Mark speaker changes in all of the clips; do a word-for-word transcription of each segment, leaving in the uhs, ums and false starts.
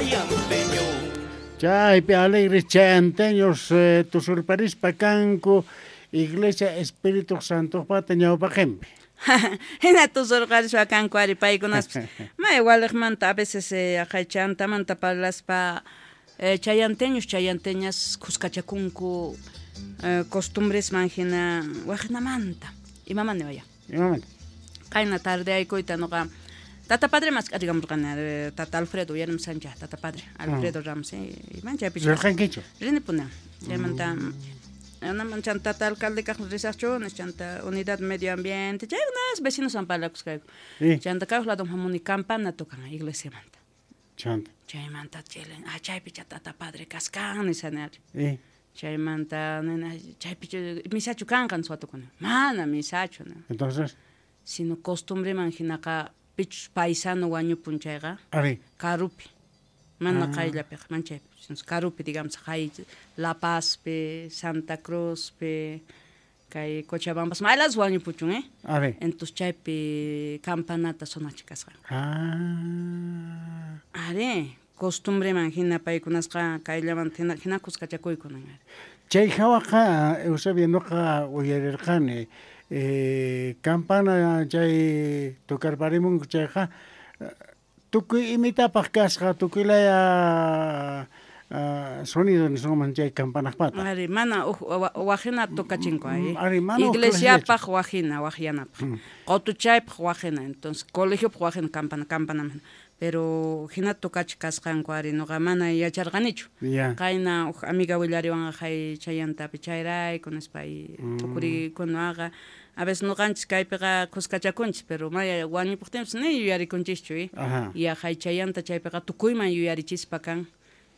Speaker 1: chayanteño.
Speaker 2: Chaypi alegres chayanteños eh, tusurparispa kanku Iglesia Espíritu Santo pata ñawpaqinpi.
Speaker 3: Hina tusurqarispa kanku ari paykunaspis may waliqmanta a veces eh, aqhay chantamanta parlaspa eh, chayanteños chayanteñas kuskachakunku eh, costumbresman hina waqnamanta imamanta waya
Speaker 2: Imamanta
Speaker 3: qayna tarde aykuyta noqa Tata Padre mask'arikamurqani Tata Alfredo uyarim Sancha Tata Padre Alfredo Ramos iman chaypi
Speaker 2: Rirqankichu
Speaker 3: rinipuna chaymanta Naman chanta tata alcalde kaq risaqchu chanta unidad medio ambiente chaykunas vecinos san parlakusqayku chanta kaq lado hamuni campana tocan iglesiamanta
Speaker 2: chanta
Speaker 3: chaymanta chelen ah chaypi tata padre kaskan nisani chaymanta nena chaypi misachu kanqan suwatukuna mana misachu no
Speaker 2: entonces
Speaker 3: sino costumbreman hinaqa pichus paisano wañupun chayqa
Speaker 2: ari
Speaker 3: karupi mana qayllapiqa manchaypi karupi digamos hay La Pazpi Santa Cruzpi kay Cochabampas maylas wañupuchun eh
Speaker 2: ari
Speaker 3: entonces chaypi campanata sonachi kasqanku
Speaker 2: ah
Speaker 3: ari costumbreman hina paykunasqa kayllamanta hina hina kuskachakuykunan ari
Speaker 2: chay hawaqa Eusebio noqa uyarirqani eh, campana chay tocarparimunku chayqa tukuy imitapaq kasqa tukuy laya uh, sonido nisunman chay campanaqpata
Speaker 3: ari mana uj wajina tocachinku ay
Speaker 2: ari mana
Speaker 3: iglesiapaq wajina wajyanapaq qutuchaypaq wajina entonces colegiopaq wajina campana campanaman pero hina tocachi kasqanku ari noqa mana yacharqanichu
Speaker 2: yeah.
Speaker 3: Qayna uj amiga willariwanqa hay chayantapi chayrayku nispa tukurikunaqa a veces noqanchis kaypiqa kuskachakunchis pero maya wañupuqtinpis ni yuyarikunchischu eh ya hay chayanta chaypiqa tukuyman yuyarichispa kan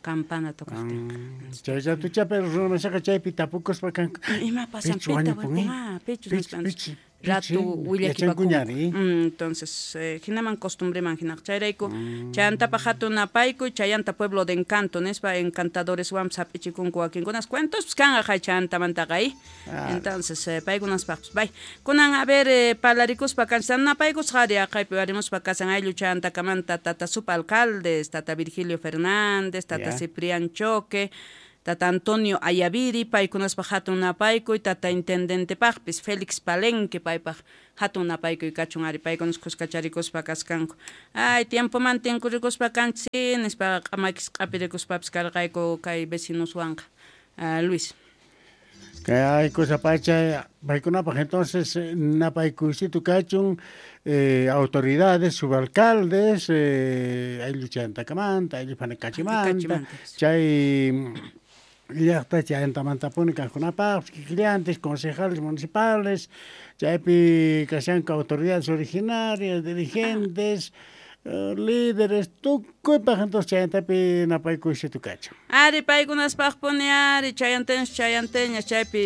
Speaker 3: campana tocaqtinqa
Speaker 2: chay ratucha pero runamasaqa chaypi tapukuspa kanku
Speaker 3: ima pasan pita ah pichus nispa ratu willakipakun entonces eh, hinaman costumbreman hinaqa chayrayku chayantapaq hatun napaykuy chayanta pueblo de encanto nispa encantadoreswanpas hap'ichikunku wakinkunas cuentos kanqa hay chayantamantaqa eh entonces eh, paykunaspaqpis bay kunan a ver eh, parlarikuspa kanchis napaykusqa ari aqhaypi arimuspa kasan ayllu chayantakamanta tata subalcaldes tata Virgilio Fernández tata
Speaker 2: yeah.
Speaker 3: Ciprián Choque tata Antonio Ayaviri paykunaspaq hatun napaykuy tata intendentepaqpis Félix Palenque paypaq hatun napaykuy kachun ari paykunas kuskacharikuspa kaskanku ay tiempoman tinkurikuspa kanchis nispa q'amakis q'apirikuspapis karqayku kay vecinoswanqa uh, Luis
Speaker 2: kay cosa pacha paykunapaq entonces napaykuysito kachun eh, autoridades subalcaldes eh, ayllu chayantakamanta ayllu panakachimanta chay llaqta chayantamantapuni kaqkunapaq kikillantes concejales municipales chaypi kashanku autoridades originarias dirigentes uh, líderes tukuypaq entonces chayantapi napaykuysitu kachun
Speaker 3: ari paykunaspaqpuni ari chayanteños chayanteñas chaypi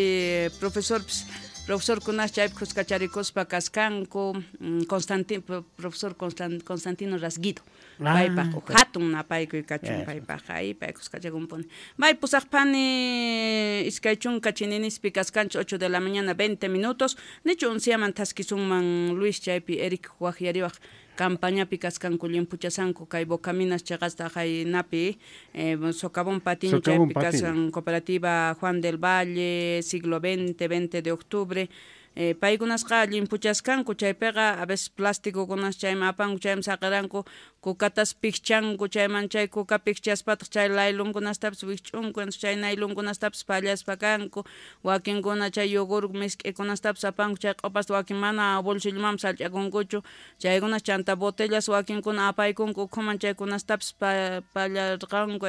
Speaker 3: profesorpis profesor kunas chaypi kuskacharikuspa kaskanku Constantin profesor Constantino Rasguido paypaq hatun napaykuy kachun paypaq ay pay kuskachakunpuni may pusaqpani iskay chunka chininispi kaskanchis ocho de la mañana veinte minutos nichu unsiaman thaskisunman Luis chaypi Eric waqyariwaq campañapi kaskanku llimpuchasanku kay Bocaminas chaqasta haynapi eh, Socavón Patiño chaypi kasan cooperativa Juan del Valle siglo veinte, veinte de octubre eh, paykunasqa llimpuchaskanku chaypiqa a veces plastikukunas chayman apanku chayman saqaranku kukatas pikchanku chayman chay kuka pikchaspataq chay laylunkunastapis wikch'unku chay naylunkunastapis pallaspa kanku wakinkuna chay yogur misk'ikunastapis apanku chay q'opasta wakin mana bolsillomanpis sallch'akunkuchu chaykunas chanta botellas wakinkuna apaykunku ukhuman chaykunastapis pallarqanku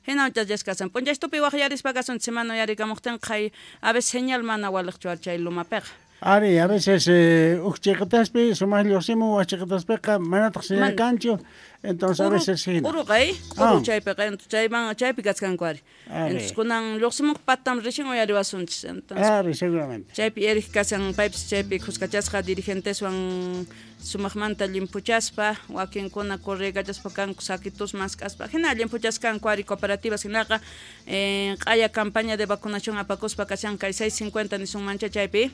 Speaker 3: hina chachas kasan p'unchaystupi waqyarispa kasun semana uyarikamuqtinqa hay a veces señal mana waliqchu ari chay lumapiqa
Speaker 2: Ari, a veces eh, uj chiqataspi sumaq lluqsimun wak chiqataspiqa manataq señal kanchu entonces a veces hina
Speaker 3: uruqa eh uru chaypiqa chayman chaypi kaskanku ari entonces kunan lluqsimunqa patam recién uyariwasunchis entonces
Speaker 2: ari seguramente
Speaker 3: chaypi Eric kasan paypis chaypi kuskachasqa dirigenteswan sumaqmanta llimpuchaspa wakinkuna corregachaspa kanku saquitos mask'aspa hina llimpuchaskanku ari cooperativas hinaqa eh, q'aya campaña de vacunación apakuspa kashan kay seis cincuenta nisunmancha chaypi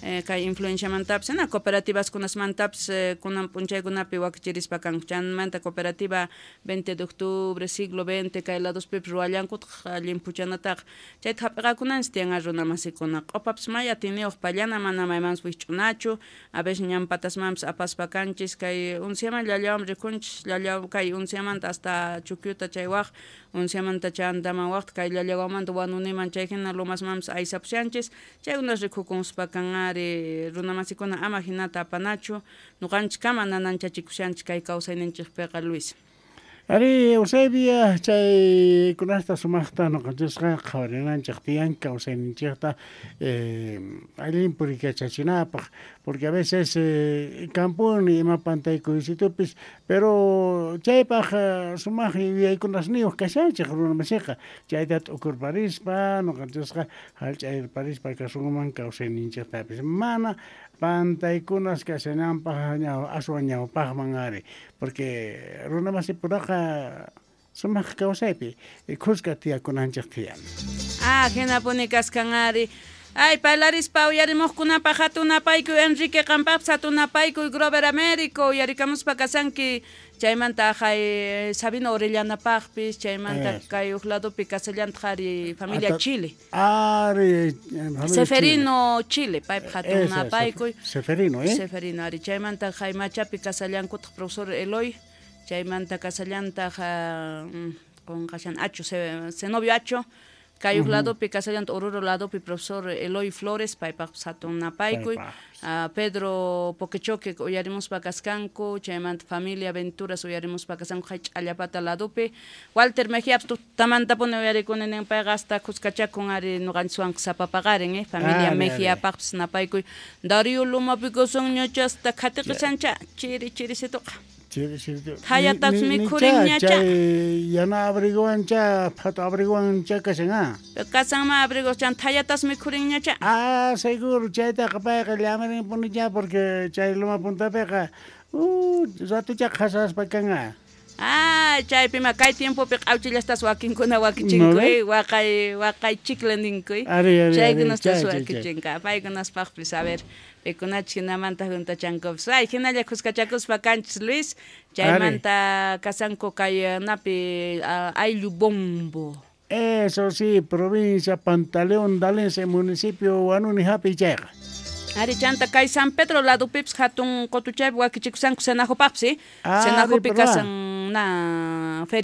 Speaker 3: eh, kay influenciamantapis hina cooperativas kunasmantapis eh, kunan p'unchaykunapi wakichirispa kanku chaymanta cooperativa veinte de octubre, siglo veinte, kay ladospipis ruwallankutaq llimpuchanataqa chayta hap'iqakunanchis tiyan runamasikuna q'opapis may atiniyuq pallana mana maymanpis wikch'unachu a veces ñan patasmanpis apaspa kanchis kay unciaman llallawan rikunchis llallaw kay unciamanta hasta Chukyuta chay waq unciamanta chantaman waqta kay llallawamanta Wanuniman chay hina lomasmanpis aysapushanchis chaykunas rikukunspa kan ari runamasikuna ama hinata apanachu nuqanchiskama nananchachikushanchis kay kawsayninchikpiqa Luis.
Speaker 2: Ari Eusebia chay kunasta sumaqta nuqanchisqa qhawarinanchik tiyan kawsayninchikta eh, allin purikachachinapaq porque a veces eh, kampuni ima pantaykuysitupis pero chaypaq eh, sumaq yuyaykunasniyuq kashanchik runamasiqa chayta t'ukurparispa nuqanchisqa hallch'ayparispa kasunman kawsayninchiktapis mana pantaykunas kashananpaq ñaw aswan ñawpaqman ari porque runamasipuraqa sumaq kawsaypi khuska tiyakunanchik tiyan.
Speaker 3: Ah, hinapuni kaskan ari. Ay, parlarispa uyarimuqkunapaq hatunapaykuy Enrique qampaqpis hatunapaykuy Grover Américo uyarikamuspa kasanki chaymanta hay Sabino Orellanapaqpis chaymanta kay uq ladopi kasallantaq ari familia Chile.
Speaker 2: Ari
Speaker 3: Seferino Chile, paypaq hatunapaykuy.
Speaker 2: Seferino, eh?
Speaker 3: Seferino ari chaymanta hay Machapi kasallankutaq profesor Eloy chaymanta kasallantaq qunqashan Acho Zenobio Acho kay uq ladopi kasallanta Oruro ladopi profesor Eloy Flores paypaqpis hatunapaykuy uh, Pedro Poquechoque uyarimuspa kaskanku chaymanta familia Venturas uyarimuspa kasanku hay Ch'allapata ladopi Walter Mejiapis tutamantapuni uyarikuni nin payqa hasta khuskachakun ari nuqanchiswanqa sapapaqarin eh familia Mejiapaqpis napaykuy Darío Lumapi kasanñacha hasta khatiqishancha chiri chirisituqa
Speaker 2: Chiri chiri.
Speaker 3: Thayatapis mikhurinñacha.
Speaker 2: Chay yana abriguancha, phato abriguancha kashan ah.
Speaker 3: Kasanma abrigo chan thayatas mikhurinñacha.
Speaker 2: Ah, seguro chaytaqa payqa llamarinpunicha porque chay loma puntapiqa uh ratucha qhasaspa kan.
Speaker 3: Ah, chaypima kay tiempopi q'awchillastas wakinkuna wakichinku, eh, waqay waqay chicle ninku. Chaykunastas wakichinka. Paykunaspaqpis a ver, pikunachik hinamanta juntachankupas. Ay, hinalla khuskachakuspa kanchis Luis, chaymanta kasanku kay napi ayllu Bombo.
Speaker 2: Eso sí, provincia Pantaleón Dalense, municipio Huanuni hapi chayqa.
Speaker 3: Ari chanta kay San Pedro ladupipis hatun qutuchaypi wakichikusanku Senajopaqpis, eh? Senajopi kasan na feria.